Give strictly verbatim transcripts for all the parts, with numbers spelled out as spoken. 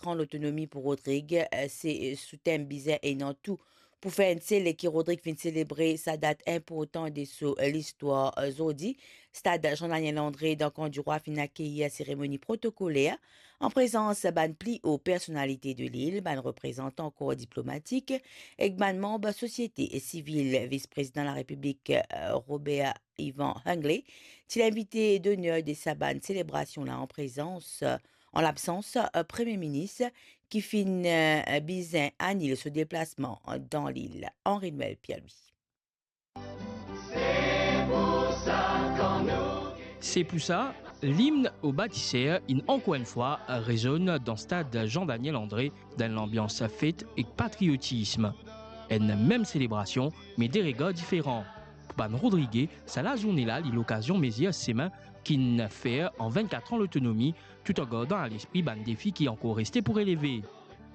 vennkat-tran lotonomi pou Rodrig, eh, se, eh, sou tem Bizin ena tou pou fer enn sel ki Rodrig finn selebre sa dat inportan de so, eh, listwar, eh, zordi. Stad Jean-Daniel André dan Kan Dirwa finn akeyir seremoni protokoler an prezans bann pli o personalite de lil, bann reprezantan kor diplomatik ek bann manb sosiete sivil. Vis-prezidan Larepiblik, eh, Robert Yvan Hinckley ti linvite doner de sa bann selebrasion la an prezans, eh, an labsans, eh, Premie Minis ki finn, eh, bizin anil so deplasman dan lil. Henri Noël Pierre-Louis. Se pou sa, limn o batiser inn ankor enn fwa rezonn dan stad Jean-Daniel André dan enn lanbians fet ek patriotism. Enn mem selebrasion, me de regar diferan. Pou bann Rodrige, sa lazourne la li lokazion mezir semin ki'nn fer an vennkat-tran lotonomi, tou an gardan a lespri bann defi ki ankor reste pou releve.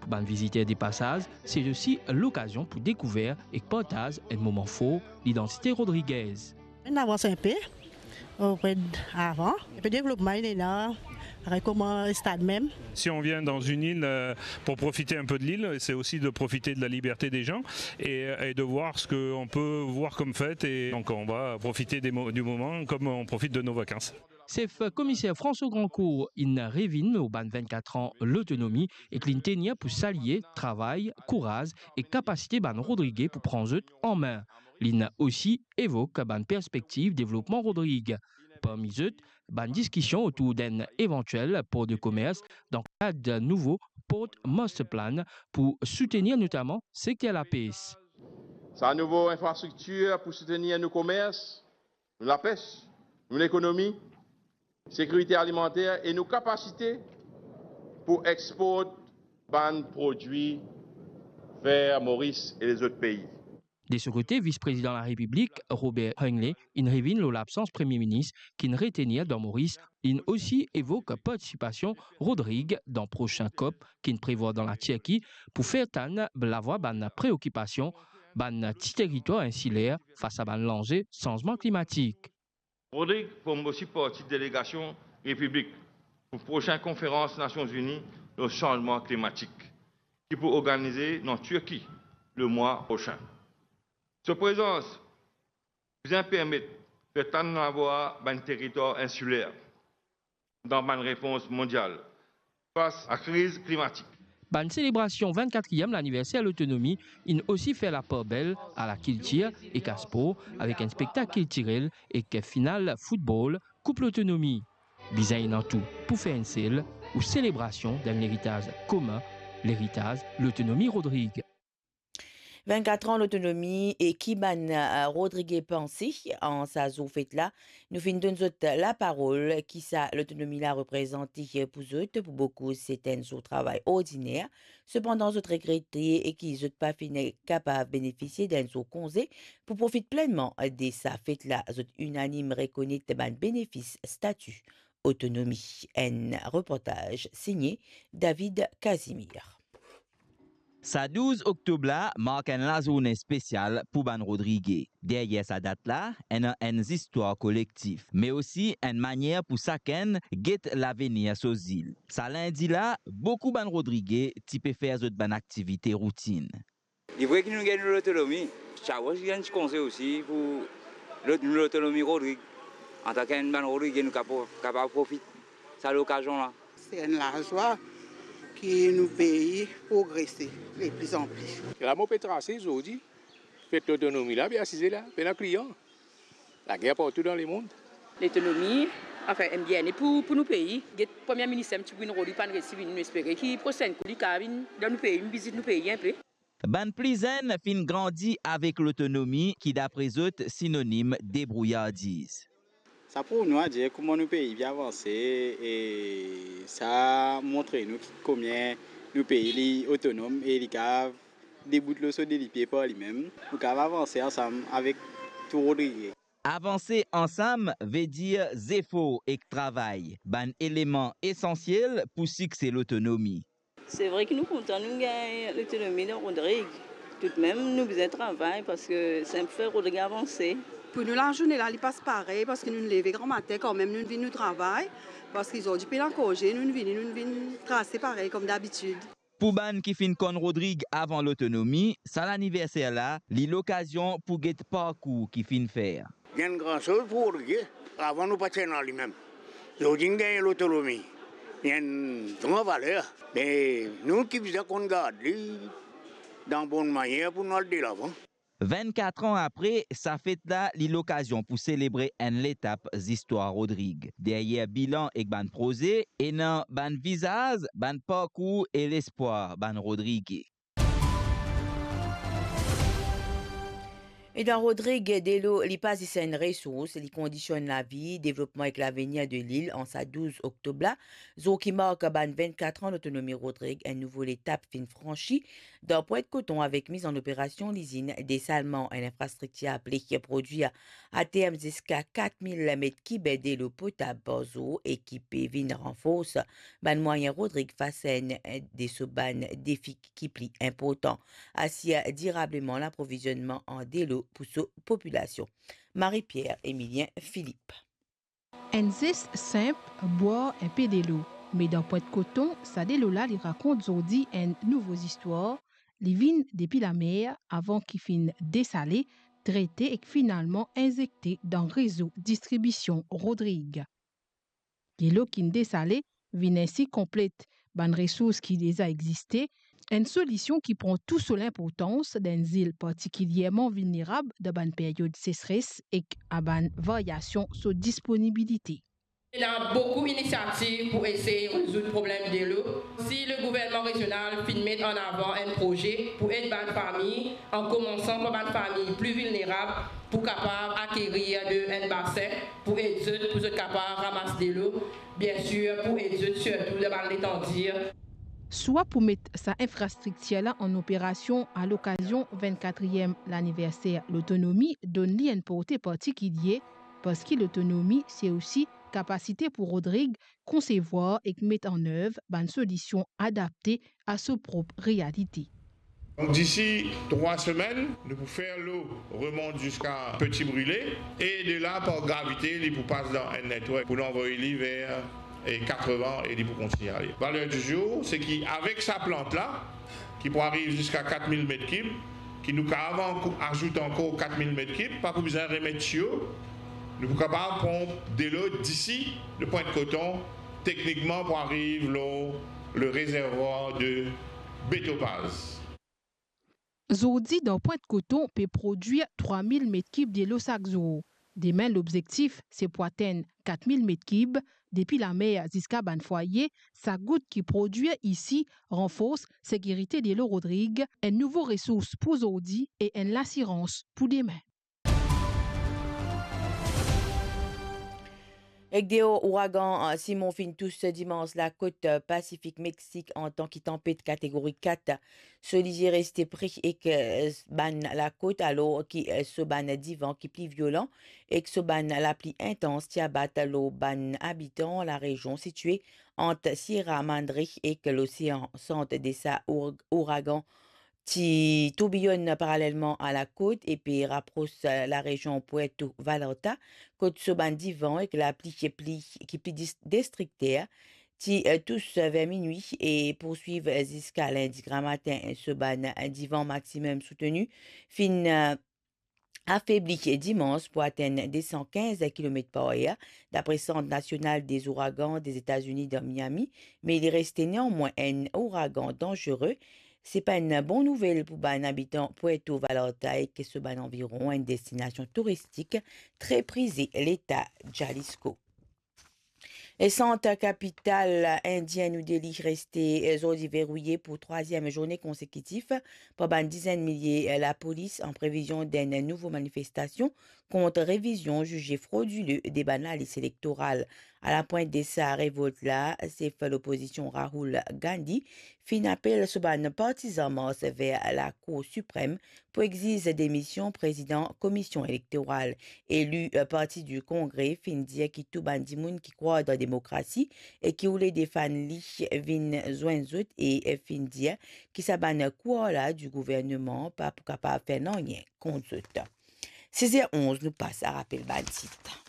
Pou bann viziter de pasaz, se osi lokazion pou dekouver ek partaz enn moman for lidantite rodrigez. Inn avans inpe, opre avan. Inpe devlopman inn ena, parey kouma stad mem. Si on vient dans une île, euh, pour profiter un peu de l'île, c'est aussi de profiter de la liberté des gens et, et de voir ce qu'on peut voir comme fête. Et donc, on va profiter des mo-, du moment comme on profite de nos vacances. Sef Komiser François Grandcourt inn revinn lor bann vennkat-tran lotonomi ek li'nn tenir pou salie travay, kouraz ek kapasite bann Rodrige pou pran zot an me. Li'nn osi evok bann perspektiv devlopman Rodrig. Parmi zot, bann diskision otour d'enn evantiel por de komers dan kad nouvo Port Master Plan pou soutenir notaman sekter lapes. Sa nouvo infrastriktir pou soutenir nou komers, nou lapes, nou lekonomi, sekirite alimanter e nou kapasite pou export bann prodwi ver Moris e lezot pei. De so kote, Vis-prezidan Larepiblik, Robert Hinckley, inn revinn lor labsans Premie Minis ki'nn retenir dan Moris. Li'nn osi evok partisipasion Rodrig dan prosin COP ki'nn prevwar dan Latirki pou fer tann lavwa bann preokipasion bann ti teritwar insiler fas a bann lanze sanzman klimatik. Rodrig form osi parti delegasion Repiblik pou prosin konferans Nasion Ini lor sanzman klimatik, ki pou organize dan Tirki lemwa prosin. So prezans bizin permet fer tann lavwa bann teritwar insiler dan bann repons mondial fas a kriz klimatik. Bann selebrasion vennkatriem laniverser lotonomi inn osi fer lapar bel a lakiltir ek a spor avek enn spektak kiltirel ek final foutbol Koup Lotonomi. Bizin ena tou pou fer enn sel ou selebrasion d'enn leritaz komin, leritaz lotonomi Rodrig. Vennkat-tran lotonomi e ki bann, eh, Rodrige panse an sa zour fet la? Nou finn donn zot laparol. Kisa lotonomi la reprezante pou zot? Pou boukou, se enn zour travay ordiner. Sepandan, zot regrete e ki zot pa finn kapav benefisie d'enn zour konze pou profit plennman de sa fet la. Zot inanim rekonet bann benefis stati otonomi. Enn reportaz signe David Casimir. Sa douz oktob la mark enn lazourne spesial pou bann Rodrige. Deryer sa dat la, ena enn zistwar kolektif, me osi enn manier pou sakenn get lavenir so zil. Sa lindi la, boukou bann Rodrige ti pe fer zot bann aktivite routinn. Li vre ki nou gagn nou lotonomi. Chawo, nou gagn ti konze osi pou lot-, nou lotonomi Rodrig. Antanke enn bann Rodrige, nou kapo-, kapav profit sa lokazion la. Se enn lazwa ki nou pei progrese de pli an pli. La mo pe trase zordi, fet lotonomi la, pe asize la, pena klian. Lager partou dan lemond. Lotonomi, anfin, enn bienet pou, pou nou pei. Get Premie Minis, enn ti bout Rodrig pa'nn resi vini, nou espere ki prosenn kou li kapav vinn dan nou pei, vinn vizit nou pei inpe. Bann pli zenn finn grandi avek lotonomi ki, dapre zot, sinonim debrouyardiz. Sa prouv nou adir kouma nou pei pe avanse e sa montre nou ki komie nou pei li otonom e li kapav debout lor so de lipie par limem. Nou kapav avanse ansam avek tou Rodrige. Avanse ansam vedir zefor ek travay, bann eleman esansiel pou sikse lotonomi. Se vre ki nou kontan nou gagn lotonomi dan Rodrig. Toutmem, nou bizin travay parski sa pou fer Rodrig avanse. Pou nou, lazourne la, li pas parey, parski nou leve gramatin kanmem, nou vinn nou travay, parski zordi pena konze, nou vini, nou vinn trase parey kom dabitid. Pou bann ki finn konn Rodrig avan lotonomi, sa laniverser la, li lokazion pou get parkour ki finn fer. Li enn gran soz pou Rodrig, avan nou pa ti ena limem. Zordi nou gagn lotonomi, li enn gran valer. Me nou ki bizin konn gard li dan bonn manier pou nou al delavan. Vennkat an apre, sa fet la, li lokazion pou selebre enn letap zistwar Rodrig. Deryer bilan ek bann proze, ena bann vizaz, bann parkour e lespwar bann Rodrige. E dan Rodrig, delo, li pa zis enn resours, li kondisionn lavi, devlopman ek lavenir de lil. An sa douz oktob la, zour ki mark bann vennkat an lotonomi Rodrig, enn nouvo letap finn fransi dan Pwent Koton avek miz an operasion lizinn desalman, enn infrastriktir apel prodwir aterm ziska kat mil met kib delo potab par zour e ki pe vinn ranfors bann mwayin Rodrig fas a enn de so bann defi ki pli inportan, asir dirableman laprovizionman an delo pou so popilasion. Marie-Pierre Emilien Philippe. Enn zes sinp, bwar enpe delo. Me dan Pwent Koton, sa delo la li rakont zordi enn nouvo zistwar. Li vinn depi lamer avan ki finn desale, trete ek finalman inzekte dan rezo distribision Rodrig. Delo ki'nn desale vinn ensi konplet bann resours ki deza existe, enn solision ki pran tou so linportans dan enn zil partikilierman vilnerab dan bann period sesres ek a bann varyasion so disponibilite. Ena boukou inisiativ pou esey rezoud problem delo. Si le gouvernman rezional finn met an avan enn proze pou ed bann fami, an komansan par bann fami pli vilnerab, pou kapav akerir de enn basin, pou ed zot, pou zot kapav ramas delo, biensir, pou ed zot sirtou dan bann letandir. Swa pou met sa infrastriktir la an operasion a lokazion vennkatriem laniverser lotonomi, donn li enn porte partikilie, parski lotonomi, se osi kapasite pou Rodrig konsevwar ek met an nev bann solision adapte a so prop realite. Donk, disi trwa semenn, nou pou fer lo remont ziska Petit Brûlé, e de la, par gravite, li pou pas dan enn network pou nou anvoy li ver, e, Katrevan, e li pou kontigne ale. Valer di zour, se ki avek sa plant la, ki pou ariv ziska kat mil met kib, ki nou kapav ankor azout ankor kat mil met kib, pa pou bizin remet tiyo, nou pou kapav pran delo disi le Pwent Koton, teknikman pou ariv lor le rezervwar de Betopaz. Zordi, dan Pwent Koton pe prodwir trwa mil met kib delo sak zour. Demin, lobzektif se pou atenn kat mil met kib. Depi lamer ziska bann fwaye, sak gout ki prodwir isi ranfors sekirite delo Rodrig, enn nouvo resours pou zordi e enn lasirans pou demin. Ek deor, ouragan Simon finn tous dimans lakot Pasifik Meksik antan ki tanpet kategori kat. So lizie reste pre ek, eh, bann lakot, alor ki, eh, so bann divan ki pli violan ek so bann lapli intans ti abat lor bann abitan larezion sitie ant Sierra Madre ek Losean Sant de sa our-, ouragan ti tourbiyonn paralelman a lakot e pe rapros larezion Puerto Vallarta, kot so bann divan ek lapli ki pli, ki pli dis-, destrikter, ti, eh, tous ver minwi e pourswiv ziska lindi gramatin. So bann divan maximum soutenu finn, eh, afebli dimans pou atenn de san kinz kilomet par er, dapre Sant Nasional dez Ouragan Dezetazini dan Miami, me li reste neanmwin enn ouragan danzere. Se pa enn bon nouvel pou bann abitan Puerto Vallarta ek so bann anviron, enn destinasion touristik tre prize Leta Jalisco. E sant kapital indien New Delhi reste, eh, zordi verouye pou trwaziem zourne konsekitif par bann dizenn milie, eh, lapolis, an previzion d'enn nouvo manifestasion kont revizion zize frodile de bann lalis elektoral. A lapwint de sa revolt la, sef lopozision Rahul Gandhi finn apel so bann partizan mars ver Lakour Siprem pou exiz demision prezidan Komisyon Elektoral. Eli, eh, Parti di Kongre finn dir ki tou bann dimoun ki krwar dan demokrasi e ki oule defann li vinn zwenn zot e, eh, finn dir ki sa bann kouar la di gouvernman pa pou kapav fer nanye kont zot. Sez er onz nou pas, a rapel bann tit.